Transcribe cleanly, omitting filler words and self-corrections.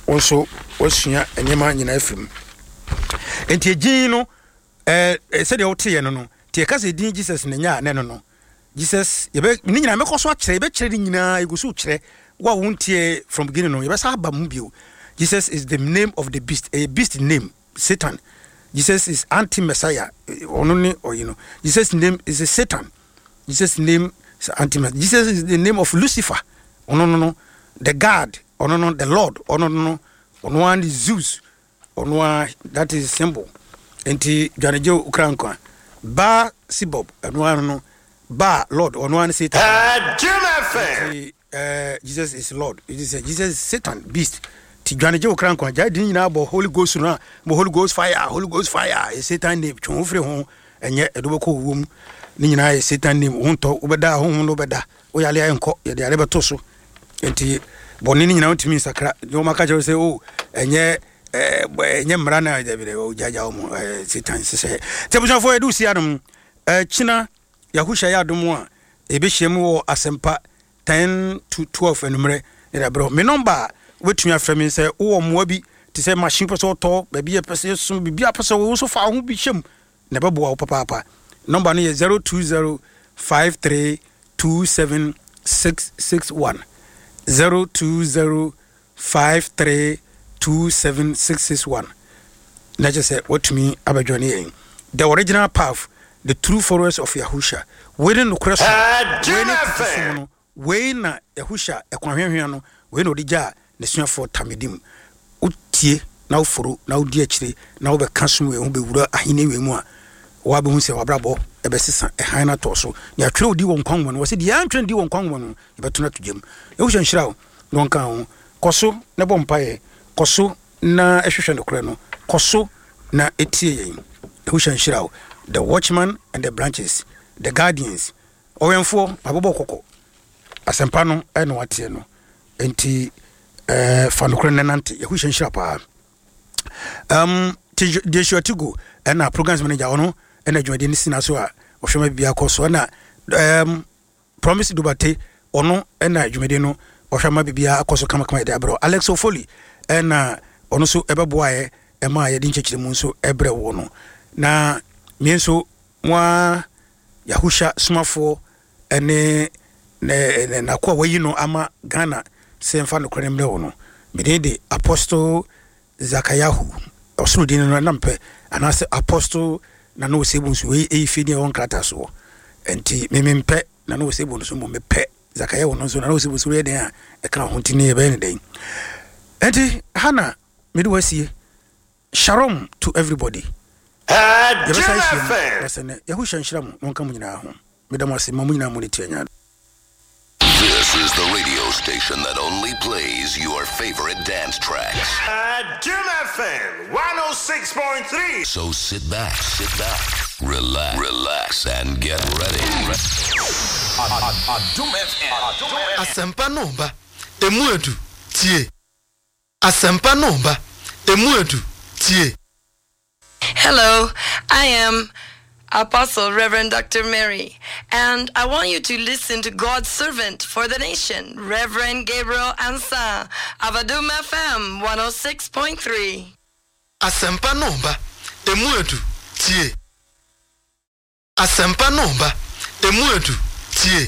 Wo nso woasua nneɛma nyinaa afiri mu. Enti edin no, ɛɛ sɛdeɛ woteeɛ no no, nti yɛka sɛ edin Jesus na ɛnyɛ a na ɛno no. Jesus, yɛbɛ, ne nyinaa mɛkɔ so akyerɛ, yɛbɛkyerɛ ne nyinaa, yɛgu so kyerɛ. Wo a wontie from beginning no, yɛbɛsa aba mu bio. Jesus is the name of the beast, ɛyɛ beast name, Satan. Jesus is anti-Messiah, ɔno ne ɔyi no. Jesus name is a Satan. Jesus name is anti-Messiah. Jesus is the name of Lucifer, ɔno no no, the God, ɔno no, the Lord, ɔno no no, ɔno ara ne Zeus, Ɔno ara that is symbol nti dwanegye okra nkwa ba sibob ɛno ara no ba lord ɔno ara ne satan nti eh, Jesus is lord it is Jesus is satan beast ti dwanegye okra nkwa gyae din nyinaa bɔ holy ghost no a bɔ holy ghost fire holy ghost fire yɛ satan name twe ho firi ho ɛnyɛ ɛde wobɛkɔ owuo mu ne nyinaa yɛ satan name wo ntɔ wobɛda honhom no wobɛda woyale a ɛnkɔ yɛde ade bɛto so nti bɔne no nyinaa wontumi nsakra nti wɔma ka kyerɛ sɛ o oh, ɛnyɛ ɛnyɛ mmara na gyagya wɔ mu satan hyehyɛ nti abusuafoɔ yɛde wosi anom kyina yɛahohyɛ yɛ adom a yɛbɛhyia mu wɔ asɛmpa 10 to 12 anummerɛ ne da berɛ me nɔmba a wobɛtumi afrɛ me sɛ wowɔ mmoa bi te sɛ machine pɛ sɛ wotɔ baabi yɛ pɛ sɛ yɛsom biribi a pɛ sɛ wo so fa wo ho bi hyɛ mu na ɛbɛboa wo papaapa. Nɔmba no yɛ 0205327661, 0205327661, na kyerɛ sɛ woatumi abɛjoine yɛn. The Original Path, The True Followers of Yahusha. Wei ne nokorɛ som, wei ne tete som no. Wei na Yahusha ɛkwan hweahwea no, wei na ɔde gyaa n'asuafoɔ Talmidim. Wotie na woforo na wodi akyire na wobɛka som wei ho bɛwura ahennie wei mu a, woabɛhu sɛ w'abrabɔ bɛsesa, ɛhan no atɔ so. Nea atwerɛ wo din wɔ nkwa nwoma no mu, wɔse deɛ antwerɛ ne din wɔ nkwa nwoma no mu, yɛbɛto no ato gya mu. Yahusha nhyira wo na ɔnka wo ho. Kɔ so na bɔ mpaeɛ, kɔ so na hwehwɛ nokorɛ no, kɔ so na tie yɛn. Yahusha nhyira wo. The Watchman and the Branches, The Guardians, Ɔwɛnfoɔ, mabobɔ kɔkɔ. Asɛmpa no na wateɛ no. Enti eh, fa nokorɛ no nante. Yahushua nhyira paa. Um, Joshua Tigo ɛna programs manager ɔno ɛna dwumadie no sina so a ɔhwɛ ma biribiara kɔ so ɛna um, Promise Dubate ɔno ɛna dwumadie no ɔhwɛ ma biribiara akɔ so kamakama yɛde abrɛ Alex Ofoli ɛna ɔno nso ɛbɛboaeɛ ɛma yɛde nkyɛkyerɛ mu nso ɛbrɛ wo no na me nso mo ara Yahusha somafoɔ ne ne n'akoa a wayi no ama Ghana sɛ mfa nokorɛ no mmerɛ wo no. Me din de Apostle Zakayahu, ɔsoro din no na mepɛ, anaasɛ Apostle Nana Osei Bonsu, wei ɛyɛ fie din a ɛwɔ nkrataa soɔ. Nti me mempɛ Nana Osei Bonsu mmom mepɛ Zakayahu no nso, Nana Osei Bonsu yɛ dɛn a ɛka ho nti ne yɛbɛyɛ ne dɛn. Nti ha na mede wo asie. Shalom to everybody. Yɛbɛsan ahyia mu da sɛ nnɛ. Yahusha nhyira mo na ɔnka mo nyinaa ho. Meda mo ase ma mo nyinaa mo ne tia nya. This is the radio station that only plays your favorite dance tracks. Adom FM 106.3. So sit back, sit back, relax, relax and get ready. Adom FM. Asɛmpa no ba, emu edu, tie. Asɛmpa no ba, emu edu, tie. Hello, I am Apostle Reverend Dr. Mary, and I want you to listen to God's servant for the nation, Reverend Gabriel Ansa of Adum FM 106.3. Asɛmpa no ba, emu edu, tie. Asɛmpa no ba, emu edu, tie.